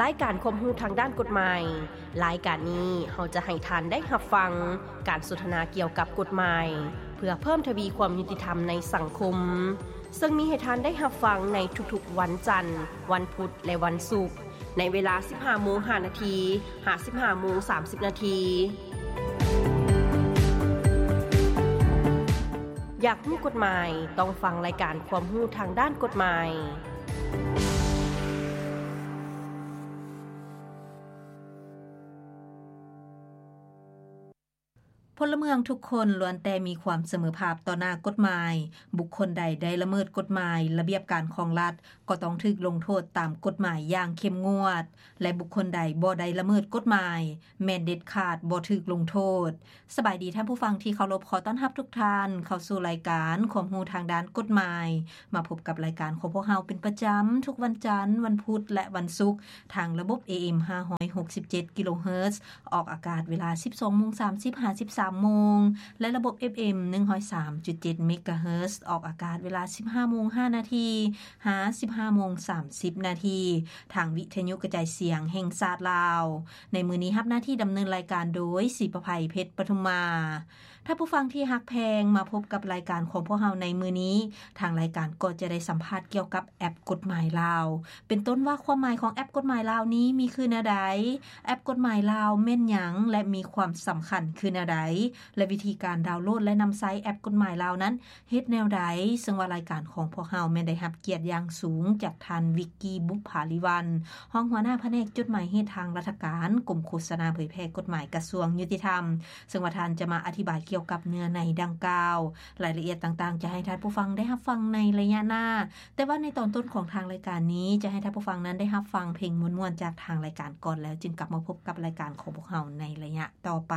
ລາຍການຄວາມຮູ້ທາງດ້ານກົດໝາຍ. ລາຍການນີ້ເຮົາຈະໃຫ້ທ່ານໄດ້ຮັບຟັງການສົນທະນາກ່ຽວກັບກົດໝາຍ ເພື່ອເພີ່ມທະວີຄວາມຍຸຕິທຳໃນສັງຄົມ, ເຊິ່ງມີໃຫ້ທ່ານໄດ້ຮັບຟັງໃນທຸກໆວັນຈັນ, ວັນພຸດ ແລະ ວັນສຸກ ໃນເວລາສິບຫ້າໂມງຫ້ານາທີ ຫາ ສິບຫ້າໂມງສາມສິບນາທີ. ຢາກຮູ້ກົດໝາຍ? ຕ້ອງຟັງລາຍການຄວາມຮູ້ທາງດ້ານກົດໝາຍ. ພົນລະເມືອງທຸກຄົນລ້ວນແຕ່ມີຄວາມສະເໝີພາບຕໍ່ໜ້າກົດໝາຍ. ບຸກຄົນໃດໄດ້ລະເມີດກົດໝາຍ, ລະບຽບການຂອງລັດ ກໍຕ້ອງຖືກລົງໂທດຕາມກົດໝາຍຢ່າງເຂັ້ມງວດ ແລະ ບຸກຄົນໃດບໍ່ໄດ້ລະເມີດກົດໝາຍ ແມ່ນເດັດຂາດບໍ່ຖືກລົງໂທດ. ສະບາຍດີທ່ານຜູ້ຟັງທີ່ເຄົາລົບ, ຂໍຕ້ອນຮັບທຸກທ່ານເຂົ້າສູ່ລາຍການຄວາມຮູ້ທາງດ້ານກົດໝາຍ. ມາພົບກັບລາຍການຂອງພວກເຮົາເປັນປະຈຳທຸກວັນຈັນ, ວັນພຸດ ແລະ ວັນສຸກ ທາງລະບົບ ເອເອັມ ຫ້າຮ້ອຍຫົກສິບເຈັດ ກິໂລເຮີດ ອອກອາກາດເວລາສິບສອງໂມງສາມສິບ ຫາ ສິບສາມໂມງ ແລະ ລະບົບ ເອັຟເອັມ ໜຶ່ງຮ້ອຍສາມຈຸດເຈັດ ເມກາເຮີດ ອອກອາກາດເວລາສິບຫ້າໂມງຫ້ານາທີ ຫາ ສິບຫ້າໂມງສາມສິບນາທີ ທາງວິທະຍຸກະຈາຍສຽງແຫ່ງຊາດລາວ. ໃນມື້ນີ້ຮັບໜ້າທີ່ດຳເນີນລາຍການໂດຍ ສີປະໄພ ເພັດປະທຸມມາ. ທ່ານຜູ້ຟັງທີ່ຮັກແພງ, ມາພົບກັບລາຍການຂອງພວກເຮົາໃນມື້ນີ້, ທາງລາຍການກໍຈະໄດ້ສຳພາດກ່ຽວກັບແອັບກົດໝາຍລາວ ເປັນຕົ້ນວ່າຄວາມໝາຍຂອງແອັບກົດໝາຍລາວນີ້ມີຄືແນວໃດ, ແອັບກົດໝາຍລາວແມ່ນຫຍັງ ແລະ ມີຄວາມສຳຄັນຄືແນວໃດ ແລະ ວິທີການດາວໂຫຼດ ແລະ ນຳໃຊ້ແອັບກົດໝາຍລາວນັ້ນ ເຮັດແນວໃດ, ເຊິ່ງວ່າລາຍການຂອງພວກເຮົາແມ່ນໄດ້ຮັບກຽດຢ່າງສູງຈາກທ່ານ ວິກກີ ບຸບຜາລິວັນ ຮອງຫົວໜ້າພະແນກຈົດໝາຍເຫດທາງລັດຖະການ ກົມໂຄສະນາເຜີຍແຜ່ກົດໝາຍ ກະຊວງຍຸຕິທຳ, ເຊິ່ງວ່າທ່ານຈະມາອະທິບາຍກ່ຽວກັບເນື້ອໃນດັ່ງກ່າວ. ລາຍລະອຽດຕ່າງໆຈະໃຫ້ທ່ານຜູ້ຟັງໄດ້ຮັບຟັງໃນໄລຍະໜ້າ, ແຕ່ວ່າໃນຕອນຕົ້ນຂອງທາງລາຍການນີ້ ຈະໃຫ້ທ່ານຜູ້ຟັງນັ້ນໄດ້ຮັບຟັງເພງມ່ວນໆຈາກທາງລາຍການກ່ອນ, ແລ້ວຈຶ່ງກັບມາພົບກັບລາຍການຂອງພວກເຮົາໃນໄລຍະຕໍ່ໄປ.